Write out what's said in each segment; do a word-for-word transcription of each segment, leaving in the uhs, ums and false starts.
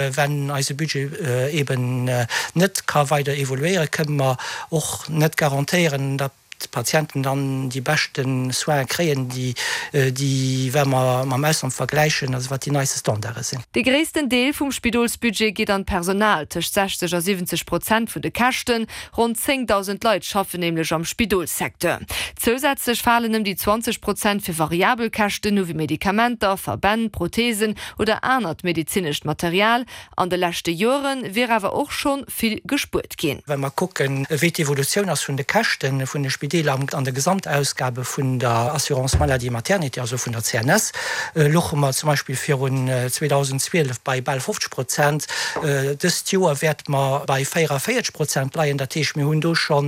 Wenn eise Budget eben net ka weider evoluéieren, kënne mer och net garantéieren, datt d'Patienten dann déi beschte Soine kréien, déi, déi, wa mer mam Ausland vergläichen, also wat déi neiste Standarde sinn. De gréissten Deel vum Spidolsbudget geet an d'Personal, tëscht sechzeg a siwwenzeg Prozent vun de Käschten. Ronn zéngdausend Leit schaffen nämlech am Spidolssecteur. Zousätzlech falen ëm déi zwanzeg Prozent fir variabel Käschten u wéi Medikamenter, Verbänn, Protheesen oder anert medezinescht Material. An de leschte Joere wier awer och scho vill gespuert ginn. Wa mer kucken, wéi d'Evolutioun ass vun de Käschte vun de Spideeler an de Gesamtausgabe vun der Assurance maladie maternité, also vun der C N S, louche mer zum Beispill virun zweedausendzwielef bei bal fofzeg Prozent. Dëst Joer wäerte mer bei véierundavéierzeg Prozent leien. Dat heescht, mir hunn do scho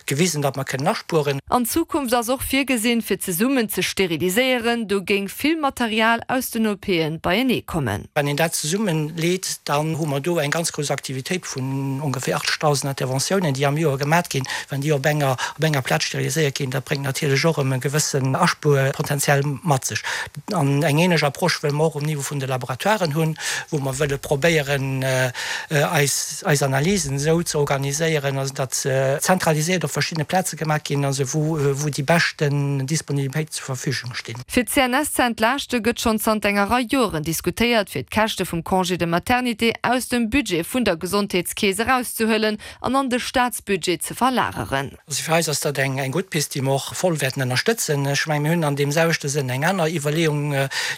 gewisen, datt mer kënnen aspueren. An Zukunft ass och virgesinn, fir zesummen ze steriliséieren. Do géing vill Material aus den O P-en beienee kommen. Wann een dat zesummenleet, dann hu mer do eng ganz grouss Aktivitéit vun ongeféier achtzegdausend Interventiounen, déi am Joer gemat ginn. Wann déi op enger op enger Plaz steriliséiert ginn, dat bréngt natierlech och erëm e gewëssen Aspuerpotenzial mat sech. An eng ähnlech Approche wëlle mer och um Niveau vun de Laboratoiren hunn, wou mer wëlle probéieren, eis eis Analysen esou ze organiséieren, also datt se zentraliséiert op verschiddene Plaze gemaach ginn, also wou wou déi beschten Disponibilitéiten zur Verfügung stinn. Fir d'C N S ze entlaaschte gëtt schonn zanter enger Rei Joren diskutéiert, fir d'Käschte vum Congé de maternité aus dem Budget vun der Gesondheetskeess erauszehuelen an an de Staatsbudget ze verlageren. Also fir eis ass dat eng eng gutt Pist, déi mer och voll wäerten ënnerstëtzen. Ech mengen, mir hunn an deem selwechte Sënn eng aner Iwwerleeung,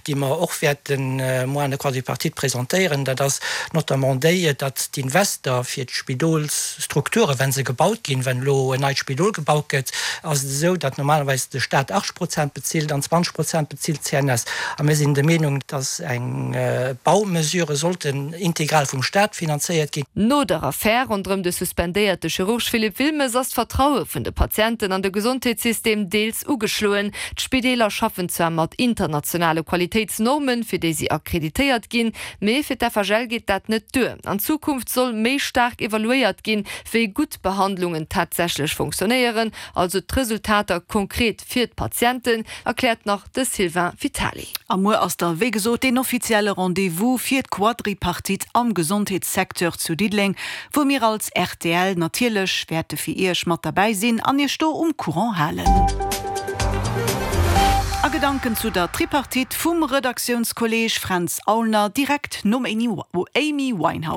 déi mer och wäerten muer an der Quadripartite presentéieren. Dat ass notamment déi, datt d'Invester fir d'Spidolsstrukturen, wa se gebaut ginn, wann elo en neit Spidol gebaut gëtt, ass et esou, datt normalerweis de Staat achtzeg Prozent bezilt an zwanzeg Prozent bezilt d'C N S. A mir sinn der Meenung, datt eng Baumesure sollten integral vum Staat finanzéiert ginn. No der Affär ronderëm de suspendéierte Chirurg Philippe Wilmes ass d'Vertraue vun de Patienten an de Gesondheetssystem deels ugeschloen. D'Spideeler schaffen zwar mat internationale Qualitéitsnormen, fir déi si akkreditéiert ginn, mee fir d'F H L geet dat net duer. An Zukunft soll méi staark evaluéiert ginn, wéi gutt Behandlungen tatsächlech funktionéieren, also d'Resultater konkret fir d'Patienten, erkläert nach de Sylvain Vitali. A muer ass da wéi gesot den offizielle Rendez-vous fir d'Quadripartite am Gesondheetssecteur zu Diddeleng, wou mir als R T L natierlech wäerte fir Iech mat derbäi sinn an Iech do um Courant halen. A Gedanken zu der Tripartite vum Redaktiounskolleeg Fränz Aulner direkt nom Amy Winehouse.